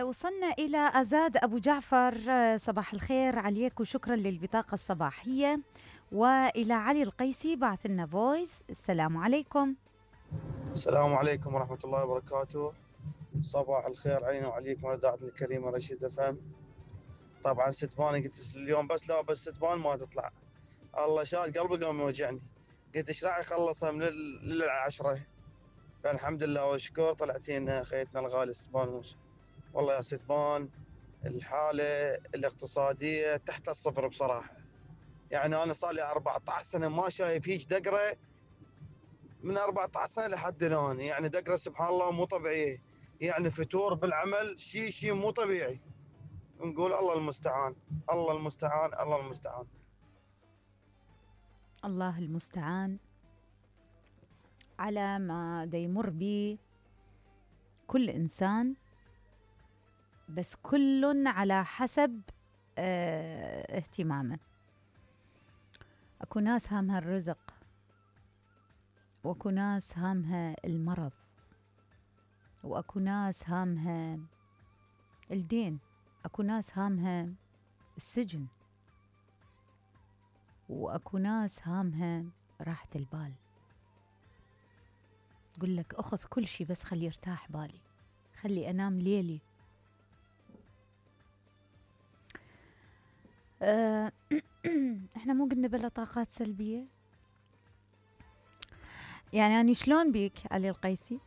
وصلنا إلى أزاد أبو جعفر. صباح الخير عليك وشكرا للبطاقة الصباحية. وإلى علي القيسي بعث لنا فويس. السلام عليكم. السلام عليكم ورحمة الله وبركاته. صباح الخير علينا وعليكم والإذاعة الكريمة رشيد FM. طبعا ستباني قلت اليوم بس لا بس ستبان ما تطلع، الله شاد قلبي قام يوجعني، قلت ايش راح يخلصها من للعشرة، فالحمد لله والشكر طلعتين خيتنا الغالي ستبان موسى. والله يا ستبان الحالة الاقتصادية تحت الصفر بصراحة، يعني أنا صار لي 14 سنة ما شايف هيج دقرة، من 14 سنة لحد الآن، يعني دقرة سبحان الله مو طبيعية، يعني فتور بالعمل شيء مو طبيعي. نقول الله المستعان الله المستعان الله المستعان. الله المستعان على ما دا يمر به كل إنسان، بس كل على حسب اهتمامه. أكو ناس هامها الرزق، وأكو ناس هامها المرض، وأكو ناس هامها الدين، أكو ناس هامها السجن، وأكو ناس هامها راحة البال. يقول لك أخذ كل شي بس خلي يرتاح بالي، خلي أنام ليلي. احنا مو قلنا بلا طاقات سلبية؟ يعني أنا شلون بيك علي القيسي؟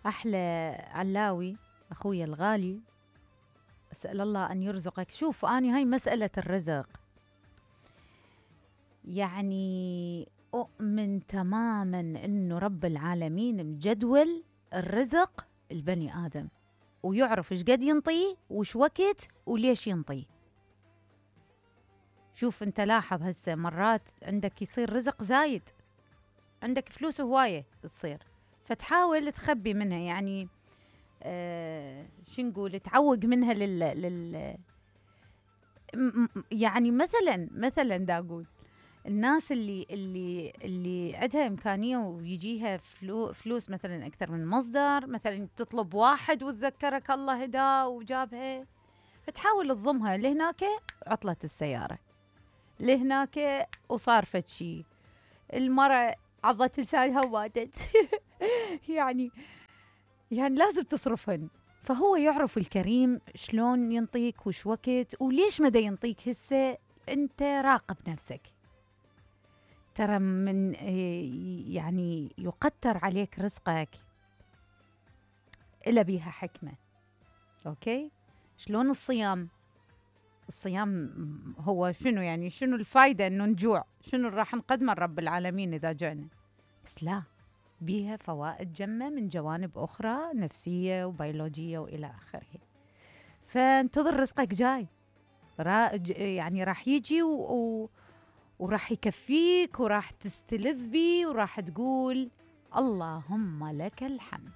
أحلى علاوي أخوي الغالي، أسأل الله أن يرزقك. شوف أنا هاي مسألة الرزق، يعني أؤمن تماما أنه رب العالمين مجدول الرزق البني آدم، ويعرف إيش قد ينطيه وش وقت وليش ينطيه. شوف أنت لاحظ هسه مرات عندك يصير رزق زايد، عندك فلوس هواية تصير، فتحاول تخبي منها، يعني شو نقول، تعوق منها يعني مثلا دا أقول الناس اللي عندها إمكانية ويجيها فلوس مثلا أكثر من مصدر، مثلا تطلب واحد وتذكرك الله هدا وجابها، فتحاول تضمها لهناك عطلة السيارة، لهناك وصار فد شي، المرأة عضت لسانها وماتت. يعني لازم تصرفهن. فهو يعرف الكريم شلون ينطيك وش وقت وليش مدى ينطيك. هسه انت راقب نفسك، ترى من يعني يقتر عليك رزقك إلا بيها حكمة. أوكي، شلون الصيام هو شنو، يعني شنو الفايدة انه نجوع، شنو راح نقدمه رب العالمين اذا جعنا؟ بس لا، بيها فوائد جمة من جوانب أخرى نفسية وبيولوجية وإلى آخره. فانتظر رزقك جاي، يعني راح يجي وراح يكفيك، وراح تستلذ بيه، وراح تقول اللهم لك الحمد.